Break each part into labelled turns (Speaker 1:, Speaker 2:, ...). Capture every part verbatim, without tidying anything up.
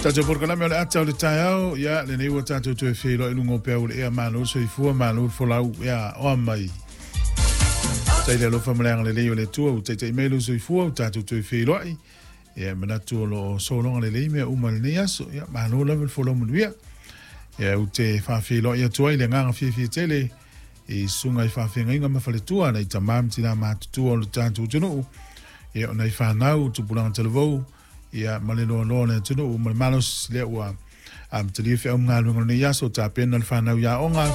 Speaker 1: Tatou polokalame o le ata o le taeao, ia lenei ua tatou toe feiloai i luga o peau o le ea. Malo le soifua, malo le folau, ia oa mai. Tai le alofa ma le agalelei o le Atua ua taitai mai lou soifua ua tatou toe feiloai. Ia manatu o lo o sologa lelei mea uma i lenei aso. Ia malo lava le folau manuia. Ia ou te faafeiloai atu ai le agaga fiafia tele i susuga i faafeagaiga ma faletua nai tama ma tina matutua o le tatou atunuu. Ia o nai fanau, tupulaga talavou, ia ma le loaloa o le atunuu ma le malosi lea ua amatalia feau ma galuega o lenei aso, tapena le fanau i aoga.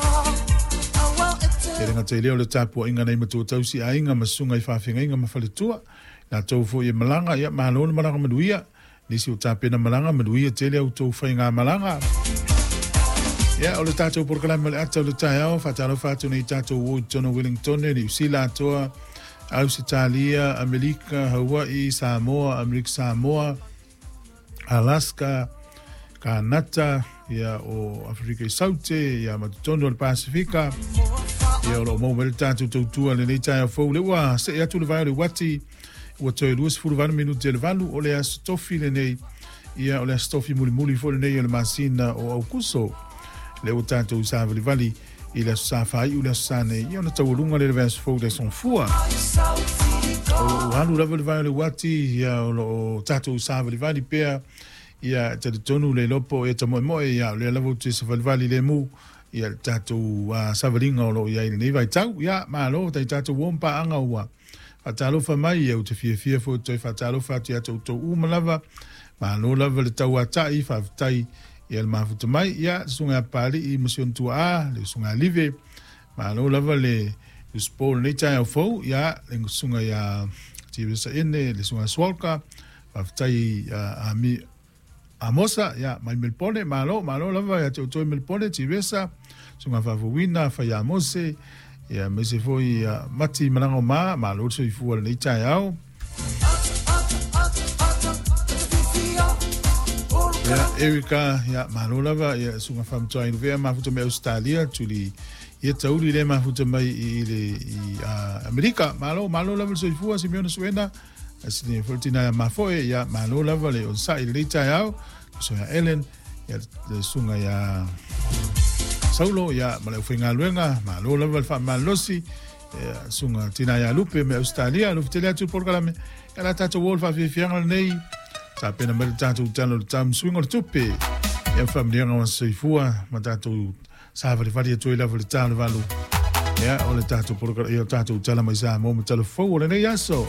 Speaker 1: E le gata i lea o le tapuaiga nai matua tausi aiga ma susuga i faafeagaiga ma faletua. Latou foi e malaga, ia malo le malaga manuia. Nisi o tapena malaga, manuia tele au tou faiga malaga. Ia, o le tatou polokalame o le ata o le taeao, faatalofa atu nei tatou o i totonu o Wellington, Niu Sila atoa, Ausetalia, Amerika, Hawaii, Samoa, Amerika Samoa, Alaska, Kanata, ia o Afrika i Saute, ia ma totonu o le Pasifika. Ia o lo o maua mai le tatou tautua lenei taeao fou. Le ua see atu le vai o le uati, ua toe luasefulu valu minute i le valu, o le aso tofi lenei. Ia o le aso tofi mulimuli foi lenei o le masina o Aukuso. Le ua tatou savalivali i le aso sa faaiu le aso sa nei, ia ona taualuga le le vaiaso fou le aso Gafua. O lo o alu lava le vai o le uati, ia o lo o tatou savalivali pea, ia e talitonu le iloa po o e tamoemoe, ia o lea lava ou te savalivali lemu, ia le tatou uh, savaliga o lo o i ai i lenei vaitau. Ia malo tai tatou uo ma paaga ua faatalofa mai, ia ou te fiafia foi toe faatalofa atu ia te outou uma lava. Malo lava le tauatai, faafetai ia le mafuta mai, ia le susuga ia Papalii ma si ona tuaa, le usuga ia Live, malo lava le usupo lenei taeao fou, ia le susuga ia Tivesa Ene, le susuga ia Swalka, faafetai a, a mi, Amosa, ia mai Melpone, malo, malo lava ia te outou i Melpone, Tivesa, susuga Faafouina, Faia Mose, ia aemaise foi ia Mati Malaga o Ma, malo le soifua lenei taeao. Ia Erika, ia malo lava, ia susuga Faamatuai Luvea, mafuta mai Australia, tuli ia tauli le mafuta mai i le i uh, Amerika, malo, malo lava le soifua, Simeona Suena, asini foi tina ia mafoe, ia malo lava le onosai i lenei taeao, susuga Ellen, ia le susuga ia Saulo, ia ma le aufaigaluega, malo lava le faamalosi, ia susuga tina ia Lupe mai Australia, alofa tele atu le polokalame, ia la tatou o le faafiafiaga lenei, tapena mai le tatou tala o le tau ma suiga o le tupe, ia faamanuiaga o soifua ma tatou savalivali atu ai lava le ta o le valu, ia o le tatou polokalame, ia o tatou tala mai Samoa ma tala fou o lenei aso.